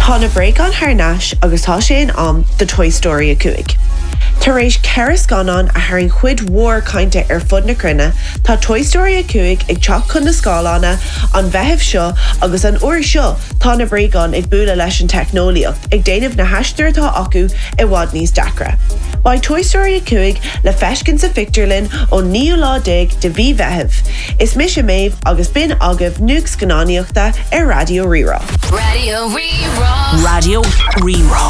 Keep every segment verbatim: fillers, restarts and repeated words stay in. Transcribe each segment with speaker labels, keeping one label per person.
Speaker 1: Tá na bréagáin thar n-ais agus tá sé in am do Toy Story a cúig. Tar éis ceithre scannán a tharraing cuid mhór cainte ar fud na cruinne, tá Toy Story a cúig ag teacht chun na scáileáin an Mheitheamh seo agus an uair seo tá na bréagáin ag bualadh leis an teicneolaíocht ag déanamh na haistir atá acu i bhfad níos deacra. Beidh Toy Story a cúig le feiscint sa phictiúrlann ón naoú lá déag de mhí Mheithimh. Is mise Méabh agus b'in agaibh nuacht scannánaíochta ar Raidió Rí-Rá.
Speaker 2: Raidió Rí-Rá.
Speaker 3: Raidió Rí-Rá.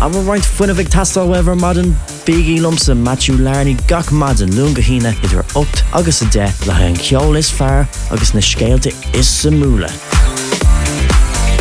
Speaker 4: An bhfuil roinnt fuinnimh ag teastáil uaibh ar maidin bígí liomsa Matthew Larney gach maidin Luan go hAoine idir ocht agus a deich le an ceol is fearr agus na scéalta is suimiúla.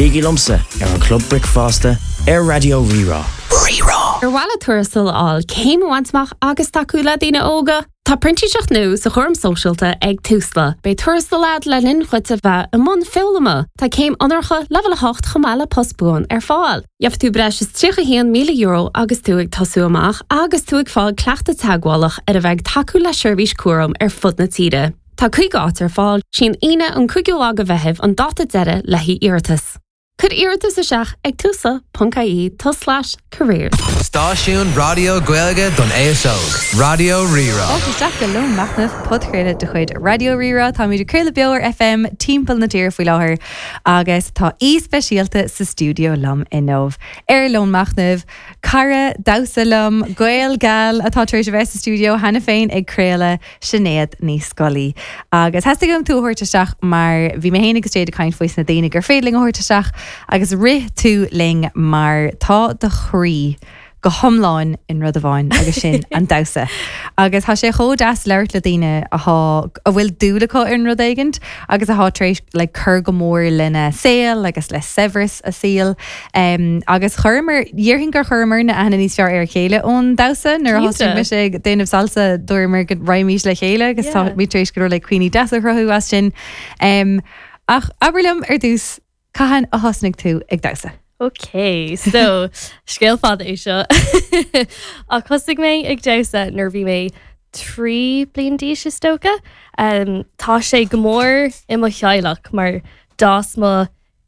Speaker 4: Bígí liomsa ar an Club Bricfeasta ar Raidió Rí-Rá.
Speaker 3: Rí-Rá.
Speaker 5: Ar mhaith leat tuarastal a fháil céim a bhaint amach agus tacú le daoine óga. Tá printíseacht nua sa chúram sóisialta ag Tusla. Beidh tuarastal agat le linn duit a bheith i mbun foghlama. Tá céim onóracha leibhéal a hocht chomh maith le post buan ar fáil. Gheobhaidh tú breis is tríocha haon míle euro agus tú ag tosú amach agus tú ag fáil cleachtadh teagmhálach ar a bheith tacú le seirbhís cúraim ar fud na tíre. Tá cúig áit ar fáil sin Aoine an cúigiú lá de Mheitheamh an dáta deiridh le haghaidh iarratas. Cuir iarratas isteach ag tusla.ie tulslais careers.
Speaker 6: Stáisiún Raidió Gaeilge don aos óg. Raidió Rí-Rá.
Speaker 7: Fáilte isteach go Lón Machnaimh podchraoladh de chuid Raidió Rí-Rá Táimid ag craoladh beo ar FM timpeall na tíre faoi láthair agus tá aoi speisialta sa stiúideo liom inniu. Ar Lón Machnaimh, cara damhsa liom Gael geal atá tar éis a bheith sa stiúideo cheana féin ag craoladh Sinéad Ní Scolaí. Agus theastaigh uaim tú a thabhairt isteach mar bhí mé féin agus Jade ag caint faoi na daoine gur féidir linn a thabhairt isteach agus rith tú linn mar tá do chroí go hiomlán in rud amháin agus sin an damhsa. Agus tá sé chomh deas labhairt le daoine atá a bhfuil dúil acu in rud éigin agus atá tar éis le cur go mór lena saol agus le saibhreas a saoil. Um, agus chuireamar déarfainn gur chuireamar na aithne níos fearr ar a chéile ón damhsa nuair a thosaigh mise ag déanamh salsa dúramar go raghaimís le chéile agus tá mé tar éis go le cuimhní deasa a chruthú as sin. Um, ach abair liom ar dtús cathain a thosnaigh tú ag damhsa.
Speaker 8: Ok, so scéal fada é seo ach thosaigh mé ag damhsa nuair bhí mé trí bliana d'aois is dócha. Um, tá sé go mór i mo theaghlach mar d'fhás mo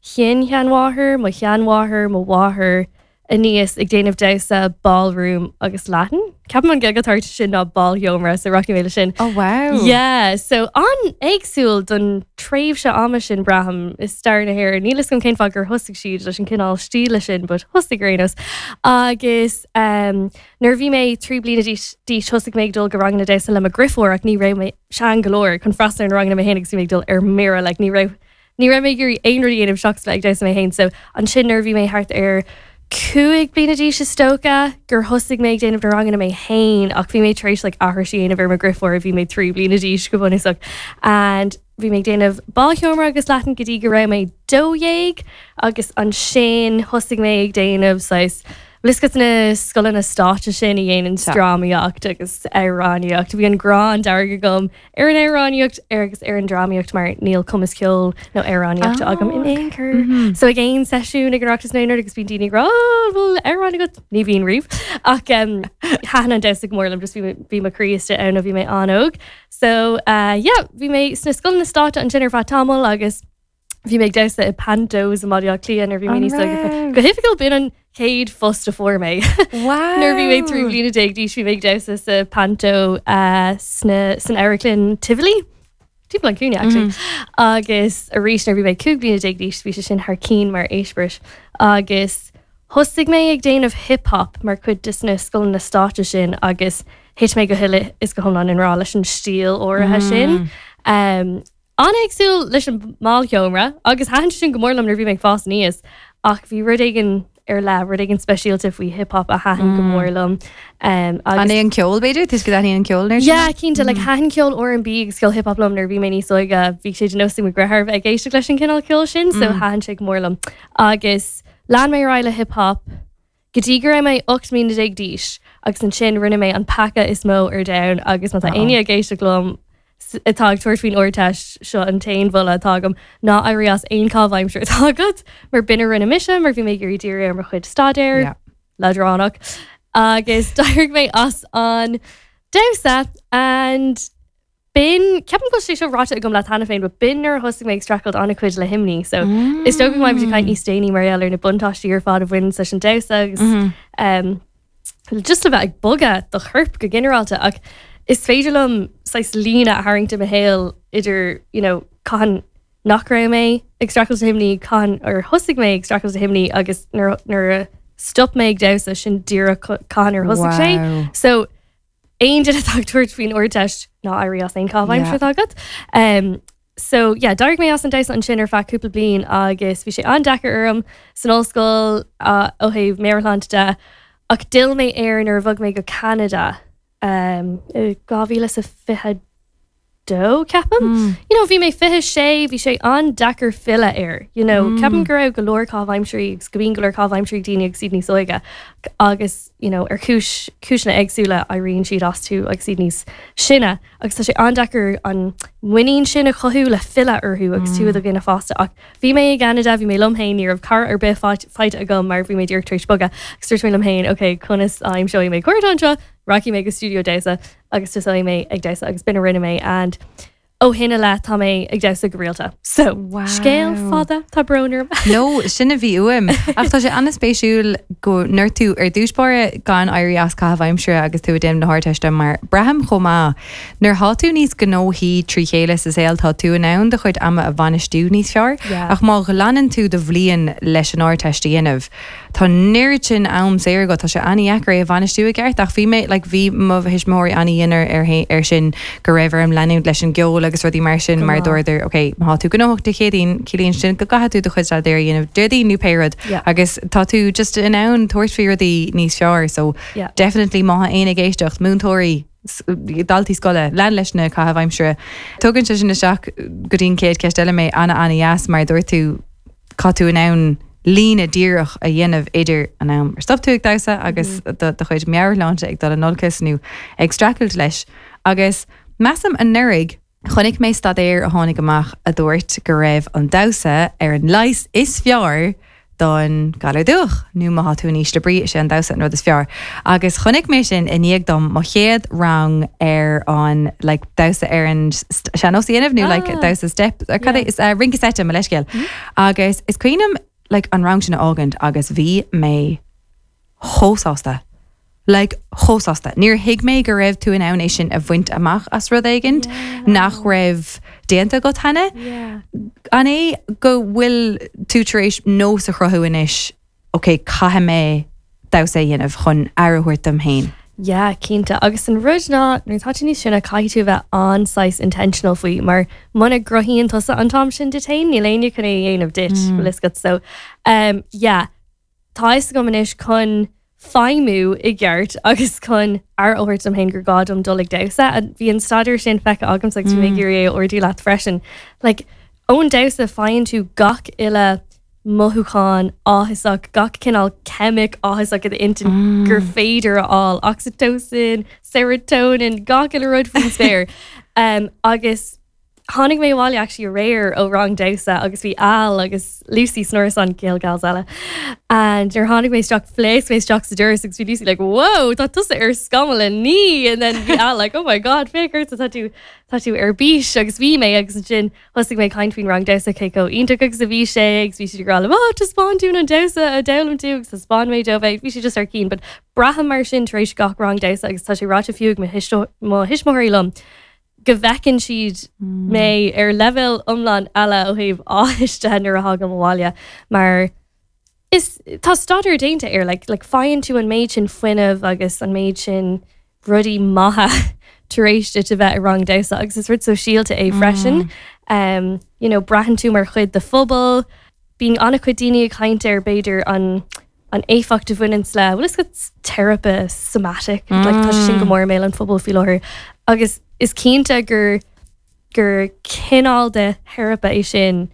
Speaker 8: shin-sheanmháthair, mo sheanmháthair, mo mháthair aníos ag déanamh damhsa ballroom agus Latin. Ceapaim an Ghaeilge atá sin ná bálsheomra so rachaidh mé le sin.
Speaker 7: Oh wow.
Speaker 8: Yeah, so an-éagsúil don tréimhse ama sin braithim i stair na hÉireann. Níl a fhios agam cén fáth gur thosaigh siad leis an cineál stíle sin, but thosaigh ar aon nós. Agus um, nuair bhí mé trí bliana d'aois thosaigh mé ag dul go ranganna damhsa le mo dheirfiúr ach ní raibh mé sean go leor chun freastal ar na ranganna mé féin agus bhí mé ag dul ar mire, like, ní raibh ní raibh mé ag iarraidh aon rud a dhéanamh seachas bheith ag damhsa mé féin, so ansin nuair bhí mé thart ar cúig bliana d'aois is dócha gur thosaigh mé ag déanamh na ranganna mé féin ach bhí mé tar éis like, aithris a dhéanamh ar mo dheirfiúr bhí mé trí bliana d'aois go bunúsach. And bhí mé ag déanamh bálsheomra agus Latin go dtí go raibh mé dó dhéag agus ansin thosaigh mé ag déanamh saghas Liscut na scoileanna stáite sin a dhéanann drámaíocht agus amhránaíocht. Bhí an grá dearg agam ar an amhránaíocht ar agus ar an drámaíocht mar níl cumas ceoil nó amhránaíochta agam in aon chor. So ag aon seisiún ag an Oireachtas nó agus bíonn daoine rá bhfuil amhrán agat ní bhíonn riamh ach um, thaitin an damhsa go mór liom just bhí bhí mo chroí istigh ann ó bhí mé an-óg. So uh, yeah, bhí mé sna scoileanna stáite ansin ar feadh tamaill agus bhí mé ag damhsa i pantos i mBaile Átha Cliath nuair bhí mé níos óige. Go hoifigiúil b'in an chéad phost a fuair mé. Nuair bhí mé trí bliana déag d'aois bhí mé ag damhsa sa panto uh, sna san amharclann Tivoli. Timpeall an cúinne actually. Agus arís nuair bhí mé cúig bliana déag d'aois bhí sé sin thar cinn mar eispéireas. Agus thosaigh mé ag déanamh hip-hop mar chuid de na scoileanna stáite sin agus thit mé go huile is go hiomlán i ngrá leis an stíl áirithe sin. Um, An-éagsúil leis an mbálsheomra agus thaitin sin go mór liom nuair bhí mé ag fás aníos ach bhí rud éigin ar leith rud éigin speisialta faoi hip-hop a thaitin go mór liom. Um,
Speaker 7: An é an ceol b'fhéidir Tuis go an ceol nuair
Speaker 8: Yeah, cinnte like thaitin ceol R&B agus ceol hip-hop liom nuair bhí mé níos óige bhí sé de nós ag mo dheartháir bheith ag éisteacht leis an cineál ceol sin, so thaitin sé go mór liom. Agus lean mé ar aghaidh le hip-hop go dtí go raibh mé ocht mbliana déag d'aois agus ansin rinne mé an peaca is mó ar domhan agus má tá éinne ag éisteacht liom atá ag tabhairt faoin Ardteist seo an t-aon mholadh atá agam ná éirí as aon chaitheamh aimsire atá agat mar b'in a rinne mise mar bhí mé ag iarraidh díriú ar mo chuid staidéir
Speaker 7: Yeah.
Speaker 8: leadránach agus d'éirigh mé as an damhsa and B'in ceapaim go bhfuil sé seo ráite agam leat cheana féin, but b'in nuair a thosaigh mé ag streachailt an-chuid le himní, so mm. is dócha go mbeidh caint níos déanaí mar gheall ar na buntáistí ar fad a bhain leis an damhsa agus mm -hmm. um, just le bheith ag bogadh do chorp go ginearálta ach is féidir liom saghas líne a tharraingt i mo shaol idir you know, cathain nach raibh mé ag streachailt le himní cathain ar thosaigh mé ag streachailt le himní agus nuair a stop mé ag damhsa sin díreach cathain ar thosaigh sé. So aon duine atá ag tabhairt faoin Ardteist ná éirí as aon chaitheamh aimsire agat. Um, so yeah, d'éirigh mé as an damhsa ansin ar feadh cúpla bliain agus bhí sé an-deacair orm san ollscoil uh, ó thaobh meabhairshláinte de ach d'fhill mé air nuair a bhog mé go Canada um, dhá mhíle sa fiche dó ceapaim. Mm. You know, bhí mé fiche sé bhí sé an-deacair filleadh air. You know, mm. ceapaim go raibh go leor caitheamh aimsirí agus go mbíonn go leor caitheamh aimsirí daoine agus iad níos óige agus you know, ar chúis cúiseanna éagsúla éiríonn siad astu agus iad níos sine agus tá sé an-deacair an muinín sin a chothú le filleadh orthu agus tú i do dhuine fásta ach bhí mé i gCanada bhí mé liom féin ní raibh cara ar bith faighte agam mar bhí mé díreach tar éis bogadh agus dúirt mé liom féin ok conas a aimseoidh mé cairde anseo rachaidh mé go stiúideo damhsa agus tosóidh mé ag damhsa agus b'in a rinne mé and ó shin i leith tá mé ag damhsa go rialta. So
Speaker 7: Wow.
Speaker 8: scéal fada tá brón orm.
Speaker 7: No sin a bhí uaim ach tá sé an-spéisiúil go ndúirt tú ar dtús báire gan éirí as caitheamh aimsire agus tú ag déanamh na hArdteiste mar braithim chomh maith. Nuair atá tú níos gnóthaí trí chéile sa saol tá tú in ann do chuid ama a bhainistiú níos fearr,
Speaker 8: Yeah.
Speaker 7: ach má ghlanann tú do bhliain leis an Ardteist a dhéanamh. Tá neart sin am saor agat tá sé an-deacair é a bhainistiú i gceart ach bhí mé like, bhí mo thuismitheoirí an-dhian ar ar sin go raibh orm leanúint leis an gceol agus rudaí mar sin mar
Speaker 8: Go maith.
Speaker 7: dúradar ok má tú gnóthach Dé Céadaoin ciallaíonn sin go gcaithfidh tú do chuid staidéir a dhéanamh Déardaoin nó pé rud
Speaker 8: Yeah.
Speaker 7: agus tá tú just in ann tabhairt faoi rudaí níos fearr so
Speaker 8: Yeah.
Speaker 7: definitely má éinne ag éisteacht múinteoirí s- daltaí scoile lean leis na caitheamh aimsire. Tugann sé sin isteach go dtí an chéad cheist eile mé ana ana dheas mar dúirt tú tá tú in ann líne díreach a dhéanamh idir an am ar stop tú ag damhsa agus do do chuid meabhairshláinte ag dul in olcas nó ag streachailt leis. Agus measaim anuraidh chonaic mé staidéar a tháinig amach a dúirt go raibh an damhsa ar an leigheas is fearr don galar dubhach nó má tá tú in ísle brí sé an damhsa an rud is fearr. Agus chonaic mé sin i ndiaidh dom mo chéad rang ar an like, damhsa ar an sean-nós a dhéanamh nó like,
Speaker 8: Ah.
Speaker 7: damhsa step ar cad é
Speaker 8: Yeah.
Speaker 7: is uh, rince seite mo leithscéal. Agus is cuimhin liom like, an rang sin a fhágaint agus bhí mé chomh sásta. Like chomh sásta. Níor thuig mé go raibh tú in ann é sin a bhaint amach as rud éigin nach raibh déanta agat cheana.
Speaker 8: Yeah.
Speaker 7: An é go bhfuil tú tar éis nós a chruthú anois, Ok, caithfidh mé damhsa a dhéanamh chun aire a thabhairt dom féin.
Speaker 8: Yeah, cinnte agus an rud ná nuair atá tú níos sine caithfidh tú bheith an-saghas intentional faoi mar muna gcruthaíonn tusa an t-am sin duit féin níl éinne chun é a dhéanamh duit mm. agat so um, yeah, tá a fhios agam anois chun feidhmiú i gceart agus chun aire a thabhairt dom féin gur gá dom dul ag damhsa a bhí an staidéar sin feicthe agam agus bhí mé ag iarraidh é a ordú leat freisin. Like, ón damhsa faigheann tú gach uile mothúchán áthasach gach cineál ceimic áthasach i d'intinn mm. gur féidir a fháil oxytocin, serotonin, gach uile rud faoin spéir. Um, agus tháinig mé abhaile actually aréir ó rang damhsa agus bhí Al agus Lucy san árasán Gael Gals eile. And nuair tháinig mé isteach phléasc mé isteach sa doras agus bhí Lucy like, whoa, tá tusa ar scamall a naoi and then bhí Al like, oh my god, féach ort tá tú tá tú ar bís agus bhí mé agus ansin thosaigh mé caint faoin rang damhsa cé chomh iontach agus a bhí sé agus bhí siad ag rá liom, oh, taispeáin dúinn an damhsa a d'fhoghlaim tú agus taispeáin mé dóibh é bhí sé just ar cinn, but braithim mar sin tar éis gach rang damhsa agus tá sé ráite fiú ag mo thuisto- mo thuismitheoirí liom go bhfeiceann siad mé ar leibhéal iomlán eile ó thaobh áthais de nuair a thagaim abhaile mar is tá staidéar déanta air like, like faigheann tú an méid sin fuinnimh agus an méid sin rudaí maithe tar éis duit a bheith i rang damhsa agus is rud sóisialta é freisin. Um, you know, braitheann tú mar chuid de phobal, bíonn an-chuid daoine ag caint ar b'fhéidir an an éifeacht a bhaineann le well is teiripe somatic mm. like, tá sé sin go mór i mbéal an phobail faoi láthair agus is cinnte gur gur cineál de theiripe é sin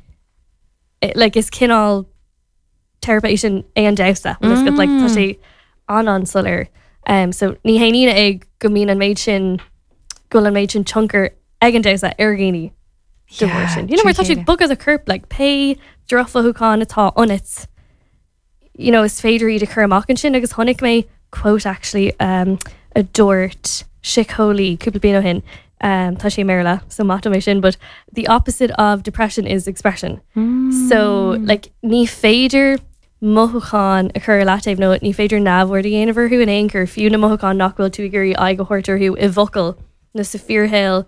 Speaker 8: eh, like is cineál teiripe é sin é an damhsa well, is like, tá sé an an-soiléir um, so ní haon ionadh é go mbíonn an méid sin go bhfuil an méid sin tionchar ag an damhsa ar dhaoine de bharr sin. You know, mar tá sé bogadh do chorp like pé drochmhothúchán atá ionat you know, is féidir iad a chur amach ansin agus chonaic mé quote actually um, a dúirt síceolaí cúpla bliain ó shin um, tá sé i mBéarla so maith dom é sin, but the opposite of depression is expression. Mm. So like ní féidir mothúchán a chur leataobh nó ní féidir neamhaird a dhéanamh orthu in aon chor fiú na mothúcháin nach bhfuil tú ag iarraidh aghaidh a thabhairt orthu i bhfocail nó sa fíorshaol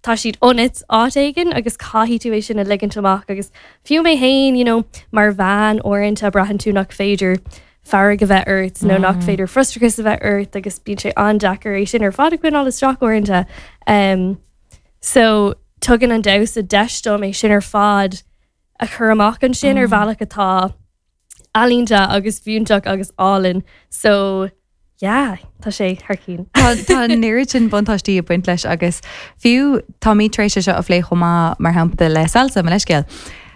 Speaker 8: tá siad ionat áit éigin agus caithfidh tú é sin a ligint amach agus fiú mé féin you know, mar bhean uaireanta braitheann tú nach féidir fearg a bheith ort nó nach mm. féidir frustrachas a bheith ort agus bíonn sé an-deacair é sin ar fad a choinneáil isteach uaireanta. Um, so tugann an damhsa deis dom é sin ar fad a chur amach ansin mm. ar bhealach atá ealaíonta agus fiúntach agus álainn so yeah tá sé thar cinn.
Speaker 7: Tá an oiread sin buntáistí ag baint leis agus fiú tá mé tar éis seo a phlé chomh maith mar shampla le salsa mar leithscéal.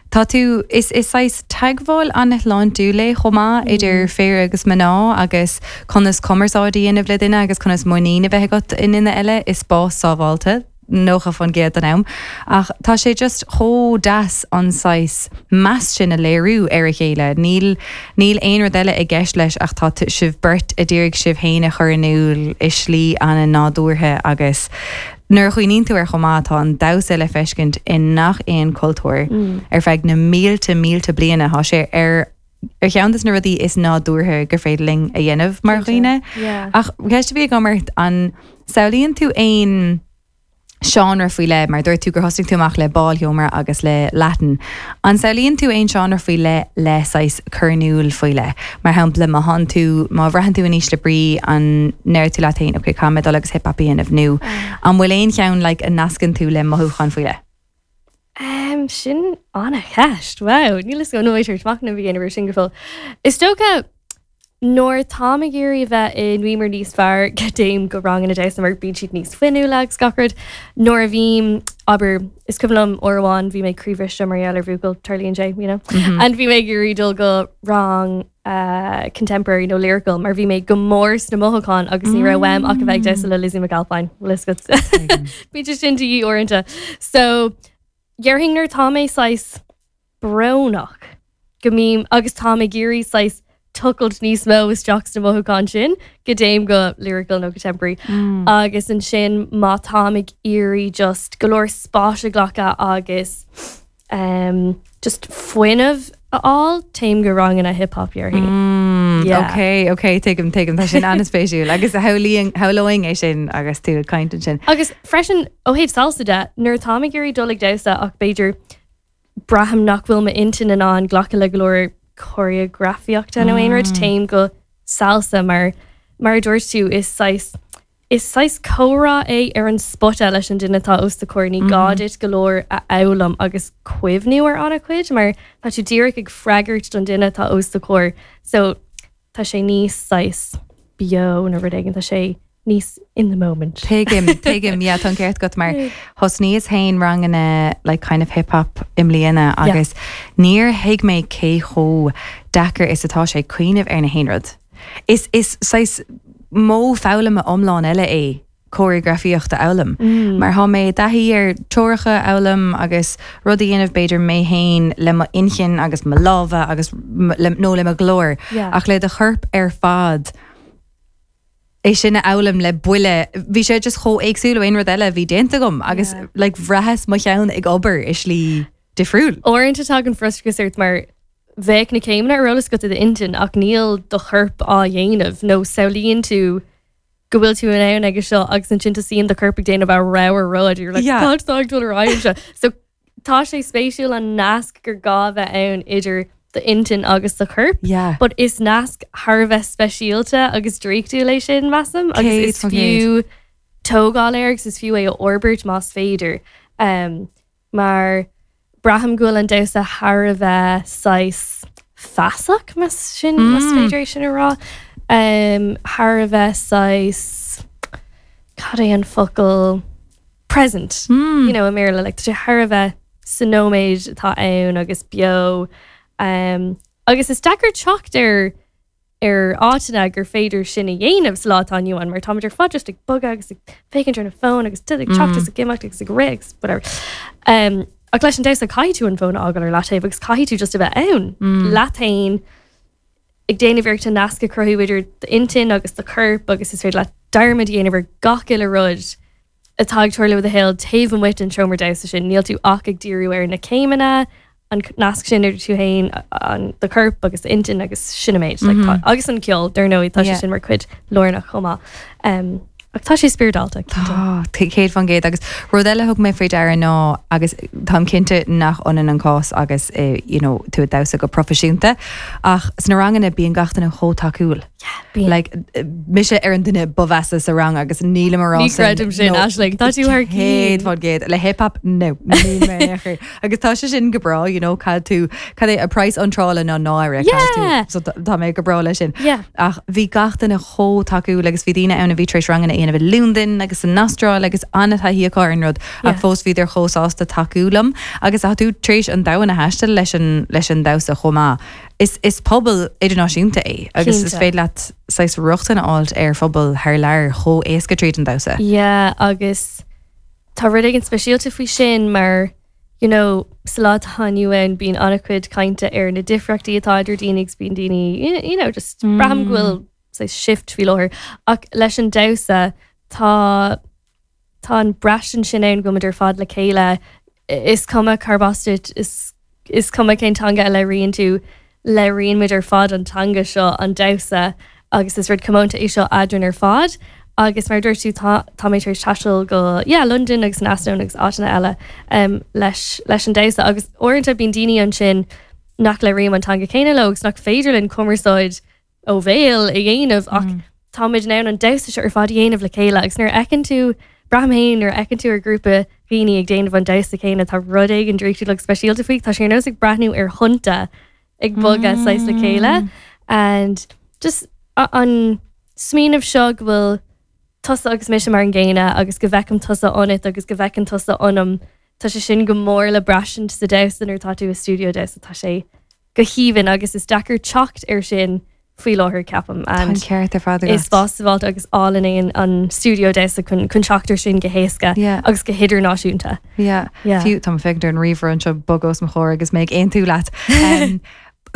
Speaker 7: Tá tú is is saghas teagmháil an-shláintiúil é chomh maith mm. idir fir agus mná agus conas cumarsáid a dhéanamh le duine agus conas muinín a bheith agat i nduine eile i spás sábháilte. nócha faoin gcéad den am. Ach tá sé just chomh deas an saghas meas sin a léiriú ar a chéile. Níl níl aon rud eile i gceist leis ach tá sibh beirt ag iarraidh sibh féin a chur in iúl i slí an-nádúrtha agus nuair a chuimhníonn tú air chomh maith tá an damhsa le feiscint i ngach aon cultúr mm. ar feadh na mílte mílte bliana tá sé ar ar cheann de na rudaí is nádúrtha gur féidir linn a dhéanamh mar dhaoine. Ach ceist a bhí agam ort an samhlaíonn tú aon seánra faoi leith mar dúirt tú gur thosaigh tú amach le bálsheomra agus le Latin. An samhlaíonn tú aon seánra faoi leith le saghas cur in iúl faoi leith. Mar shampla má tánn tú má bhraitheann tú in ísle brí an ndeir tú leat féin ok caithfidh mé dul agus hip hop a dhéanamh nó an bhfuil aon cheann like, a nascann tú le mothúchán faoi leith.
Speaker 8: Um, sin an-cheist wow níl go nóéidir machnamh a dhéanamh sin go fóill. Is dócha nuair táim ag iarraidh a bheith i ngíomar níos fearr go dtéim go ranganna damhsa mar bíonn siad níos fuinniúla agus gach rud. Nuair a bhím abair is cuimhin liom uair amháin bhí mé croíbhriste mar gheall ar bhuachaill tarlaíonn sé you know? Mm -hmm. And bhí mé ag iarraidh dul go rang uh, contemporary nó lyrical mar bhí mé go mór sna mothúcháin agus ní raibh uaim ach a bheith ag damhsa le Lizzie McAlpine Bhí sin de dhíth uaireanta. So déarfainn nuair tá mé saghas brónach go mbím agus tá ag iarraidh saghas tochailt níos mó isteach sna mothúcháin sin go dtéim go lyrical nó contemporary mm. agus ansin má táim ag iarraidh just go leor spáis a ghlacadh agus um, just fuinneamh a fháil téim go ranganna hip hop déarfainn.
Speaker 7: Mm, yeah. Ok, ok, tuigim tuigim tá sin an-spéisiúil agus shamhlóinn é sin agus tú ag caint ansin.
Speaker 8: Agus freisin ó thaobh salsa de nuair táim ag iarraidh dul ag damhsa ach b'fhéidir braithim nach bhfuil m'intinn in ann glacadh le go leor choreografaíochta nó aon rud téim go salsa mar mar dúirt tú is saghas is saghas comhrá é ar an spota leis an duine atá os do chomhair ní gá duit go leor a fhoghlaim agus cuimhniú ar an-chuid mar tá tú díreach ag freagairt don duine atá os do chomhair so tá sé níos saghas beo nó rud éigin tá sé níos in the moment.
Speaker 7: Tuigim tuigim yeah, tá ceart agat mar thosnaíos féin ranganna like kind of hip hop i mbliana agus níor thuig mé cé chomh deacair is atá sé cuimhneamh ar na haon rud. Is is saghas modh foghlama iomlán eile é choreografaíocht a fhoghlaim. Mm. Mar tá mé taithí ar treoracha a fhoghlaim agus rud a dhéanamh b'fhéidir mé féin le mo inchinn agus mo lámha agus nó le mo ghlór
Speaker 8: yeah.
Speaker 7: ach le do chorp ar fad. É sin a fhoghlaim le buille bhí sé just chomh éagsúil aon rud eile bhí déanta agam agus yeah. like, bhraitheas mo cheann ag obair i slí difriúil.
Speaker 8: Uaireanta tagann frustrachas ort mar bheadh na céimeanna ar eolas agat i d'intinn ach níl do chorp á dhéanamh nó samhlaíonn tú go bhfuil tú in ann aige seo agus ansin tosaíonn do chorp ag déanamh a rogha rud you're like
Speaker 7: Yeah.
Speaker 8: "Cad tá ag dul ar aghaidh anseo?" So tá sé spéisiúil an nasc gur gá bheith ann idir d'intinn agus do chorp.
Speaker 7: Yeah.
Speaker 8: But is nasc thar a bheith speisialta agus draíochtúil é sin measaim agus
Speaker 7: Céad
Speaker 8: is
Speaker 7: faoin gcéad.
Speaker 8: fiú tógáil air agus is fiú é a fhorbairt más féidir. Um, mar braithim go bhfuil an damhsa thar a bheith saghas feasach más sin más
Speaker 7: Mm.
Speaker 8: féidir é sin a rá. Um, thar a bheith saghas cad é an focal present.
Speaker 7: Mm.
Speaker 8: You know, i mBéarla like, tá sé thar a bheith sa nóiméad atá ann agus beo. Um, agus is deacair teacht ar ar áiteanna gur féidir sin a dhéanamh sa lá atá inniu ann, mar táimid ar fad just ag bogadh agus ag féachaint ar na fón agus ag teacht agus ag imeacht agus ag rith agus whatever. Um, ach leis an damhsa caithfidh tú an fón a fhágáil ar leataobh agus caithfidh tú just a bheith ann
Speaker 7: Mm.
Speaker 8: leat féin ag déanamh iarracht an nasc a chruthú idir d'intinn agus do chorp agus is féidir leat dearmad a dhéanamh ar gach uile rud atá ag tarlú i do shaol taobh amuigh den seomra damhsa sin níl tú ach ag díriú ar na céimeanna an nasc sin idir tú féin an do chorp agus intinn agus sin an méid like, mm -hmm. agus an ceol dar ndóigh tá sé
Speaker 7: Yeah.
Speaker 8: sin mar chuid lárnach chomh maith. Um, ach tá sé spioradálta.
Speaker 7: Tá céad faoin gcéad agus rud eile thug mé faoi deara ná agus táim cinnte nach ionann an cás agus eh, you know, tú ag damhsa go proifisiúnta ach sna ranganna bíonn gach duine chomh tacúil.
Speaker 8: bíonn.
Speaker 7: Like, eh, mise ar an duine ba mheasa sa rang agus nílim ar
Speaker 8: Ní chreidim sin Aisling, tá tú thar
Speaker 7: céad
Speaker 8: cinn.
Speaker 7: faoin gcéad le hip-hop no níl mé air. agus tá sé sin go breá you know, cad tú cad é a price iontrála ná náire
Speaker 8: Yeah.
Speaker 7: so tá tá mé go breá leis sin.
Speaker 8: Yeah.
Speaker 7: Ach bhí gach duine chomh tacúil agus bhí daoine ann a bhí tar éis ranganna a dhéanamh i Londain agus san Astráil agus an-taithí acu ar an rud
Speaker 8: Yeah.
Speaker 7: ach fós bhíodar chomh sásta tacú liom agus tá tú tar éis an domhan a thaisteal leis an leis an damhsa chomh maith. Is, is pobal idirnáisiúnta é agus is
Speaker 8: Cinnte.
Speaker 7: féidir leat saghas rochtain a fháil ar phobal thar lear chomh éasca tríd an damhsa.
Speaker 8: Yeah, agus tá rud éigin speisialta faoi sin mar you know, sa lá atá inniu ann bíonn an-chuid cainte ar na difríochtaí atá idir daoine agus bíonn daoine you you know, just mm. braithim go bhfuil saghas shift faoi láthair ach leis an damhsa tá tá an braistint sin ann go ar fad le chéile is cuma cárb as duit is is cuma cén teanga a labhraíonn tú labhraíonn muid ar fad an teanga seo an damhsa agus is rud comónta é seo eadrainn ar fad agus mar dúirt tú tá tá mé tar éis taisteal go yeah, London agus an Astón agus áiteanna eile um, leis leis an damhsa agus uaireanta bíonn daoine ansin nach labhraím an teanga céanna leo agus nach féidir linn cumarsáid ó bhéal a dhéanamh ach mm. táimid in ann an damhsa seo ar fad a dhéanamh le chéile agus nuair a fheiceann tú braithim féin nuair a fheiceann tú ar grúpa daoine ag déanamh an damhsa céanna tá rud éigin draíochtúil agus speisialta faoi tá sé ar nós ag breathnú ar thonnta ag bogadh saghas le chéile and just a- an smaoineamh seo go bhfuil tusa agus mise mar an gcéanna agus go bhfeicim tusa ionat agus go bhfeiceann tusa ionam Tá sé sin go mór le braistint sa damhsa nuair tá tú i stiúideo damhsa tá sé go haoibhinn agus is deacair teacht ar sin faoi láthair ceapaim
Speaker 7: Tá
Speaker 8: and
Speaker 7: ceart ar fad
Speaker 8: is spás agus álainn é an stiúideo damhsa chun chun teacht ar sin go héasca
Speaker 7: Yeah.
Speaker 8: agus go hidirnáisiúnta.
Speaker 7: Yeah.
Speaker 8: Yeah.
Speaker 7: Fiú tá féidir an ríomhaire anseo bog os mo chomhair agus mé ag aontú leat. Um,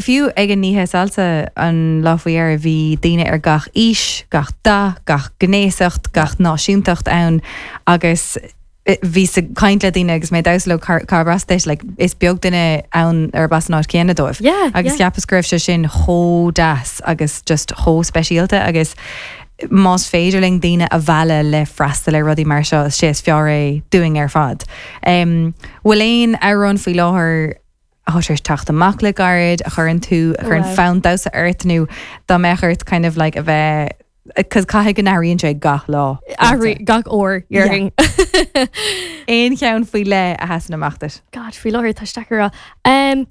Speaker 7: Fiú ag an oíche salsa an lá faoi dheireadh bhí daoine ar gach aois, gach dath, gach gnéasacht, gach náisiúntacht ann agus eh, bhí sa caint le daoine agus mé damhsa leo cárb as duit, like, is beag duine ann ar bas an áit céanna dóibh.
Speaker 8: Yeah,
Speaker 7: agus
Speaker 8: yeah.
Speaker 7: cheapas go raibh sé sin chomh deas agus just chomh speisialta agus más féidir linn daoine a mhealladh le freastal ar rudaí mar seo is sé is fearr é dúinn ar fad. Um, Bhfuil aon amhrán faoi láthair atá sé teacht amach le gairid a chuireann tú a chuireann
Speaker 8: Wow.
Speaker 7: fonn damhsa ort nó dá mbeadh ort kind of like a bheith cos caithfidh go n-athraíonn sé gach lá.
Speaker 8: Athraíonn gach uair déarfainn.
Speaker 7: Aon cheann faoi leith a sheasann amach duit.
Speaker 8: God faoi láthair tá sé deacair. Um,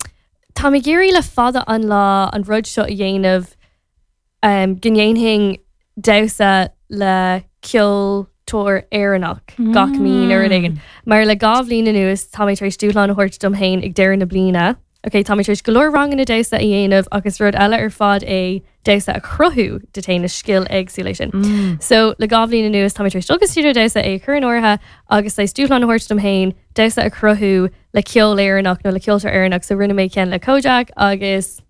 Speaker 8: Tá mé ag iarraidh le fada an lá an rud seo a dhéanamh um, go ndéanfainn damhsa le ceoltóir Éireannach gach mí nó rud éigin. Mar le dhá bhliain anuas tá mé tar éis dúshlán a thabhairt dom féin ag deireadh na bliana. Ok, tá mé tar éis go leor ranganna damhsa a dhéanamh agus rud eile ar fad é damhsa a chruthú de féin is scil éagsúil é sin. Mm. So le dhá bhliain anuas tá mé tar éis dul go stiúideo damhsa é chur in áirithe agus é dúshlán a thabhairt dom féin damhsa a chruthú le ceol Éireannach nó le ceoltóir Éireannach so rinne mé ceann le Kojaque agus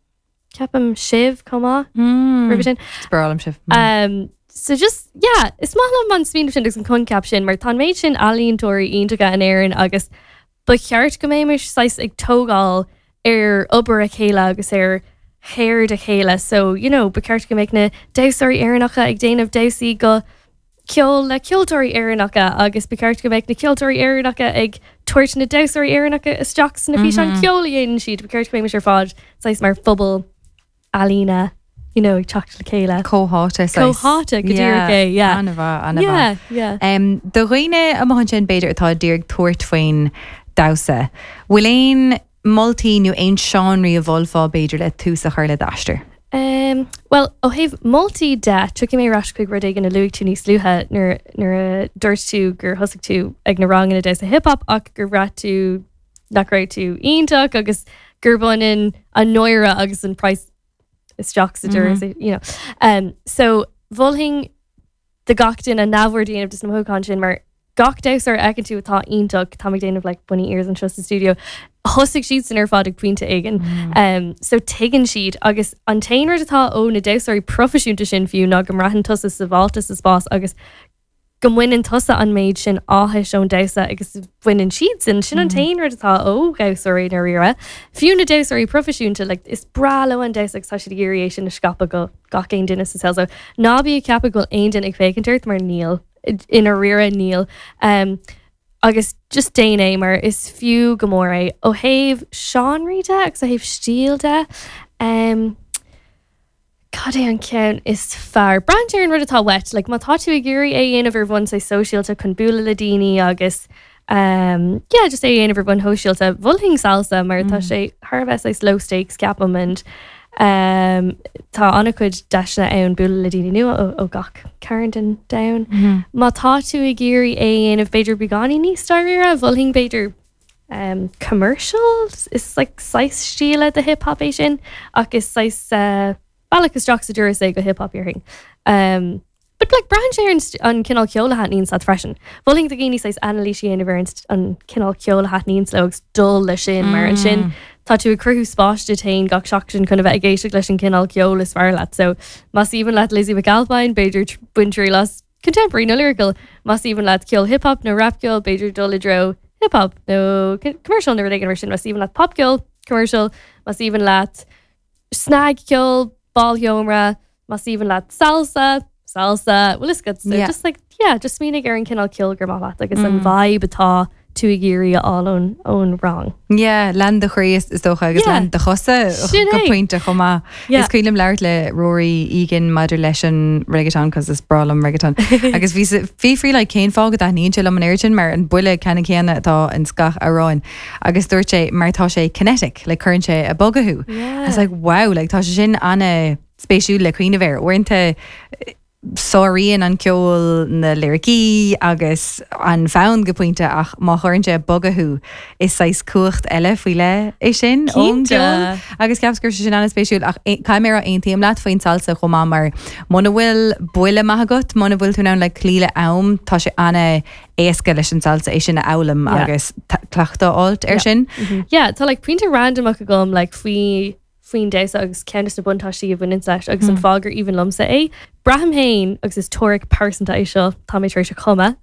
Speaker 8: ceapaim Shiv chomh maith mm. sin.
Speaker 7: Breá liom Shiv.
Speaker 8: Um, so just yeah, is maith liom an smaoineamh sin agus an coincheap sin mar tá méid sin ealaíontóirí iontacha in Éirinn agus ba cheart go mbeimis saghas ag tógáil ar obair a chéile agus ar cheird a chéile so you know, ba cheart go mbeadh na damhsóirí Éireannacha ag déanamh damhsaí go ceol le ceoltóirí Éireannacha agus ba cheart go mbeadh na ceoltóirí Éireannacha ag tabhairt na damhsóirí Éireannacha isteach sna físeáin ceol a dhéanann siad ba cheart go mbeimis ar fad saghas mar phobal ealaíne you know, ag teacht le chéile.
Speaker 7: Comhtháite
Speaker 8: Comhtháite go díreach é, yeah.
Speaker 7: An-mhaith an
Speaker 8: Yeah, yeah.
Speaker 7: Um, do dhaoine amach ansin b'fhéidir atá ag iarraidh tabhairt faoin damhsa. Bhfuil aon moltaí nó aon seánraí a mholfá b'fhéidir le tús a chur le d'aistear.
Speaker 8: Um, well ó thaobh moltaí de tiocfaidh mé ar ais chuig rud éigin a luaigh tú níos luaithe nuair nuair a dúirt tú gur thosaigh tú ag na ranganna damhsa hip hop ach gur bhraith tú nach raibh tú iontach agus gur baineann an náire agus an price isteach sa deireadh mm -hmm. you know. Um, so mholfainn do gach duine neamhaird a dhéanamh de na mothúcháin sin mar gach damhsóir a fheiceann tú atá iontach tá déanamh like bunny ears anseo sa studio. Thosaigh siad san ar fad ag pointe éigin. Mm. Um, so tuigeann siad agus an t-aon rud atá ó na damhsóirí proifisiúnta sin fiú ná go mbraitheann tusa sábháilte sa spás agus go mbaineann tusa an méid sin áthais ón damhsa agus baineann siad sin sin an t-aon rud atá ó dhamhsóirí dáiríre. Fiú na damhsóirí proifisiúnta like, is breá leo an damhsa agus tá siad ag iarraidh é sin a scaipeadh go gach aon duine sa saol so ná bí ag ceapadh go bhfuil aon duine ag féachaint ort mar níl i ndáiríre níl. Um, agus just déan é mar is fiú go mór é ó thaobh seánraí de agus ó thaobh stíl de. Um, Cad é an ceann is fearr. Braitheann ar an rud atá uait, like, má tá tú ag iarraidh é dhéanamh ar bhonn saghas sóisialta chun bualadh le daoine agus um, yeah, just é dhéanamh ar bhonn shóisialta mholfainn salsa mar tá sé thar a bheith saghas low stakes ceapaim and um, tá an-chuid deiseanna ann bualadh le daoine nua ó, ó gach cearn den domhan. Má tá tú ag iarraidh é dhéanamh b'fhéidir beagáinín níos dáiríre, mholfainn b'fhéidir um, commercial is like saghas stíle de hip hop é sin ach is saghas uh, bealach isteach sa doras é go hip hop déarfainn. Um, but like braitheann sé ar an st- an cineál ceoil a thaitníonn leat freisin. Mholfainn do dhaoine saghas anailís a dhéanamh ar an st- an cineál ceoil a thaitníonn leo agus dul leis sin mar ansin tá tú ag cruthú spás duit féin gach seachtain chun a bheith ag éisteacht leis an cineál ceoil is fearr leat. So más aoibhinn leat Lizzie McAlpine, b'fhéidir tr- bain triail as contemporary nó lyrical, más aoibhinn leat ceol hip hop nó rap ceol, b'fhéidir dul i dtreo hip hop nó co- commercial nó rud éigin mar sin, más aoibhinn leat pop ceol, commercial, más aoibhinn leat snagcheol, bálsheomra, más aoibhinn leat salsa, salsa, well is good. So
Speaker 7: Yeah.
Speaker 8: just like yeah, just smaoinigh ar an cineál ceoil gur maith leat agus an vibe atá tú ag iarraidh a fháil ón ón rang.
Speaker 7: Yeah, lean do chroí is is dócha agus
Speaker 8: Yeah.
Speaker 7: lean do chosa
Speaker 8: Sin
Speaker 7: go
Speaker 8: é.
Speaker 7: pointe chomh maith.
Speaker 8: Yeah.
Speaker 7: Is cuimhin liom labhairt le Rory Egan maidir leis an reggaeton cos is breá liom reggaeton. agus bhí fiafraí like cén fáth go dtaitníonn sé liom an oiread sin mar an buille ceannann céanna atá in gach amhrán. Agus dúirt sé mar tá sé kinetic, like cuireann sé ag bogadh thú.
Speaker 8: Yeah.
Speaker 7: I was like, wow, like tá sé sin an-spéisiúil le cuimhneamh air. Uaireanta sáraíonn an ceol na liricí agus an fonn go pointe ach má chuireann sé bogadh thú is saghas cumhacht eile faoi leith é sin ón
Speaker 8: Cinnte.
Speaker 7: gceol. Agus ceapaim gur sin an-spéisiúil ach caithfidh mé aontaím leat faoin salsa chomh maith mar muna bhfuil buille maith agat, muna bhfuil tú ann le cloí le am, tá sé an-éasca leis an salsa é sin a fhoghlaim
Speaker 8: Yeah.
Speaker 7: agus cleachtadh a fháil ar
Speaker 8: Yeah.
Speaker 7: sin.
Speaker 8: Yeah, tá like pointe randomach agam like faoi faoin damhsa agus ceann de na buntáistí a bhaineann leis agus an fáth gur aoibhinn liomsa é. Braithim féin agus is teoiric pearsanta é seo tá mé tar éis a chumadh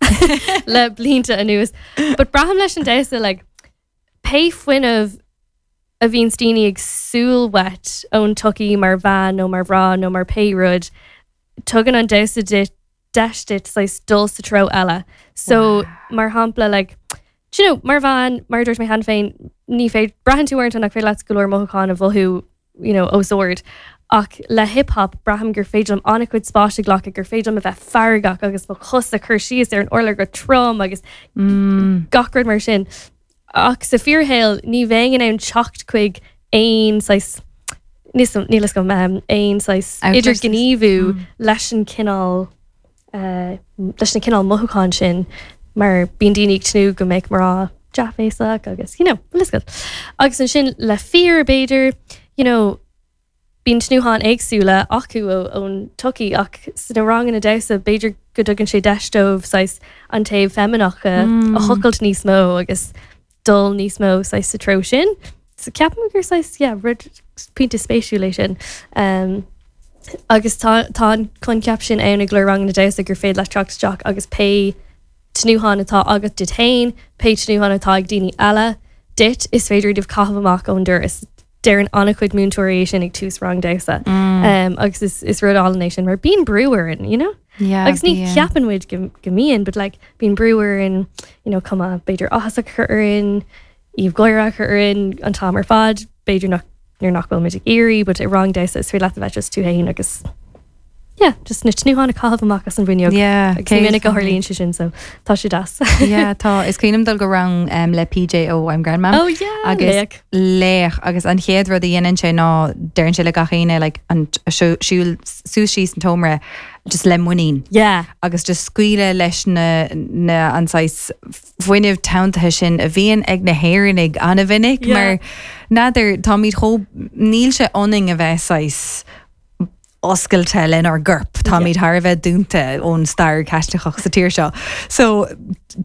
Speaker 8: le blianta anuas. But braithim leis an damhsa like pé fuinneamh a bhíonn daoine ag súil uait ón tsochaí mar bhean nó mar mhná nó mar pé rud, tugann an damhsa duit deis duit saghas dul sa treo eile. So mar shampla like do you know, mar bhean mar dúirt mé cheana féin ní féidir braitheann tú uaireanta nach féidir leat go leor mothúchán a mhothú you know, os ard. Ach le hip-hop braithim gur féidir liom an-chuid spáis a ghlacadh gur féidir liom a bheith feargach agus mo chos a chur síos ar an urlár go trom agus gach rud mar sin. Ach sa fíorshaol ní bheinn in ann teacht chuig aon saghas níl go um, aon saghas
Speaker 7: Outlet.
Speaker 8: idirghníomhú leis an cineál uh, leis na cineál mothúchán sin mar bíonn daoine ag tnúth go mbeidh mná dea-bhéasach agus you know, well, is good. Agus ansin le fir b'fhéidir you know, bíonn tnútháin éagsúla acu ó- ón tsochaí ach sna ranganna damhsa b'fhéidir go dtugann sé deis dóibh saghas an taobh feimineach a a thochailt níos mó agus dul níos mó saghas sa treo sin. So ceapaim gur saghas yeah, rud pointe spéisiúil é sin. Um, agus tá tá an coincheap sin ann ag ranganna damhsa gur féidir leat teacht isteach agus pé tnúthán atá agat duit féin, pé tnúthán atá ag daoine eile duit is féidir iad a chaitheamh amach ón doras. Deireann an-chuid múinteoirí sin ag tús rang damhsa. Um, agus is, is rud álainn é sin mar bíonn brú orainn, you know?
Speaker 7: Yeah,
Speaker 8: agus ní
Speaker 7: bíonn.
Speaker 8: cheapann muid go go mbíonn, but like bíonn brú orainn, you know, cuma b'fhéidir áthas a chur orainn, aoibh gháire a chur orainn an t-am ar fad, b'fhéidir nach nuair nach bhfuil muid ag iarraidh, but i rang damhsa is féidir leat a bheith just tú féin agus yeah, just na tnútháin a chaitheamh amach as an bhfuinneog.
Speaker 7: Yeah,
Speaker 8: Agus ní minic a
Speaker 7: céad
Speaker 8: tharlaíonn sé sin, so tá sé deas.
Speaker 7: yeah, tá is cuimhin liom dul go rang um, le PJ ó I'm Grandmam.
Speaker 8: Oh yeah,
Speaker 7: agus
Speaker 8: laoch.
Speaker 7: laoch agus an chéad rud a dhéanann sé ná deireann sé le gach éinne like, an siúl suas síos an t-seomra just le muinín.
Speaker 8: Yeah.
Speaker 7: agus just scaoileadh leis na, na an saghas fuinneamh teanntaithe sin a bhíonn ag na hÉireannaigh an-mhinic
Speaker 8: Yeah.
Speaker 7: mar n'fheadar táimid chomh níl sé ionainn a bheith saghas oscailte lenár gcorp Táimid thar a bheith dúnta ón stair Chaitliceach sa tír seo. So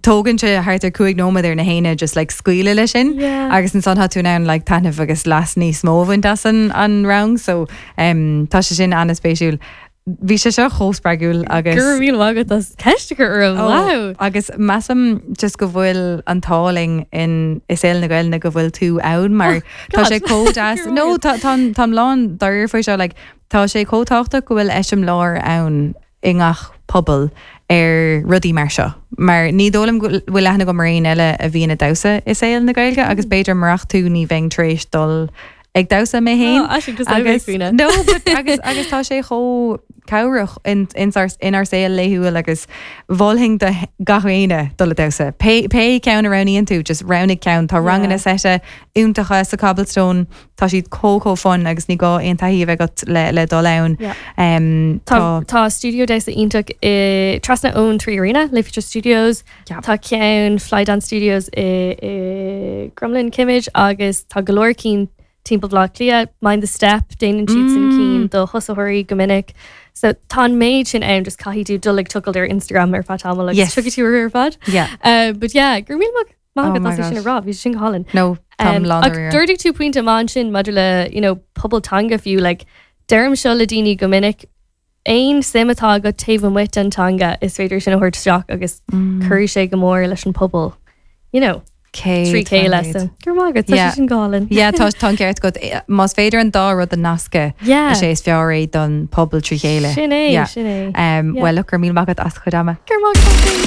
Speaker 7: tógann sé thart ar cúig nóiméad ar na héinne just like scaoileadh leis sin
Speaker 8: Yeah.
Speaker 7: agus ansan tá tú in ann like taitneamh agus leas níos mó a bhaint as an an rang so um, tá sé sin an-spéisiúil. Bhí sé seo chomh spreagúil agus
Speaker 8: Gur mí agat as ceist a chur orm. Wow.
Speaker 7: Agus measaim just go bhfuil an t-ádh linn in i saol na Gaeilge go bhfuil tú ann mar tá sé chomh deas No tá tá lán dáiríre faoi seo like, tá sé chomh tábhachtach go bhfuil eiseamláir ann i ngach pobal ar rudaí mar seo. Mar ní dóigh liom go bhfuil aithne agam ar éinne eile a bhíonn ag damhsa i saol na Gaeilge agus b'fhéidir murach tú ní bheinn tar éis dul ag damhsa mé féin.
Speaker 8: Oh, actually, just agus,
Speaker 7: no, but agus agus tá sé chomh cabhrach in in ár inár saol laethúil agus mholfainn do gach éinne dul ag damhsa. Pé pé ceann a roghnaíonn tú, just roghnaigh ceann tá ranganna seite iontacha sa Cobblestone, tá siad chomh chomh fun agus ní gá aon taithí a bheith agat le le dul ann.
Speaker 8: Yeah.
Speaker 7: Um,
Speaker 8: Tá tá studio damhsa iontach i trasna ón Three Arena, Le Future Studios,
Speaker 7: Yeah.
Speaker 8: Tá ceann Fly Dance Studios i, i Crumlin Kimmage agus tá go leor cinn timpeall Bhaile Átha Cliath, Mind the Step, déanann siad sin cinn do thosaitheoirí go minic. So tá an méid sin ann just caithfidh tú dul ag tochailt ar Instagram ar feadh tamaill agus
Speaker 7: Yes.
Speaker 8: tiocfaidh tú ar fad.
Speaker 7: Yeah.
Speaker 8: Uh, but yeah, gur mí
Speaker 7: Oh
Speaker 8: maith
Speaker 7: my
Speaker 8: sin a
Speaker 7: gosh.
Speaker 8: rá, bhí sin go hálainn.
Speaker 7: No, tá
Speaker 8: Um,
Speaker 7: lán
Speaker 8: ach d'ardaigh tú pointe maith sin maidir le you know, pobal teanga fiú like, deirim seo le daoine go minic aon suim atá agat taobh amuigh den teanga is féidir sin a thabhairt isteach agus
Speaker 7: Mm.
Speaker 8: cuirfidh sé go mór leis an pobal. You know, trí chéile so gur maith
Speaker 7: Yeah.
Speaker 8: sin go hálainn.
Speaker 7: Yeah, tá tá an ceart agat más féidir an dá rud a nascadh
Speaker 8: Yeah.
Speaker 7: is é is fearr é don pobal trí chéile.
Speaker 8: Sin é,
Speaker 7: Yeah.
Speaker 8: sin é.
Speaker 7: Um,
Speaker 8: Yeah.
Speaker 7: Well, gur míle maith agat as do chuid ama.
Speaker 8: Gur maith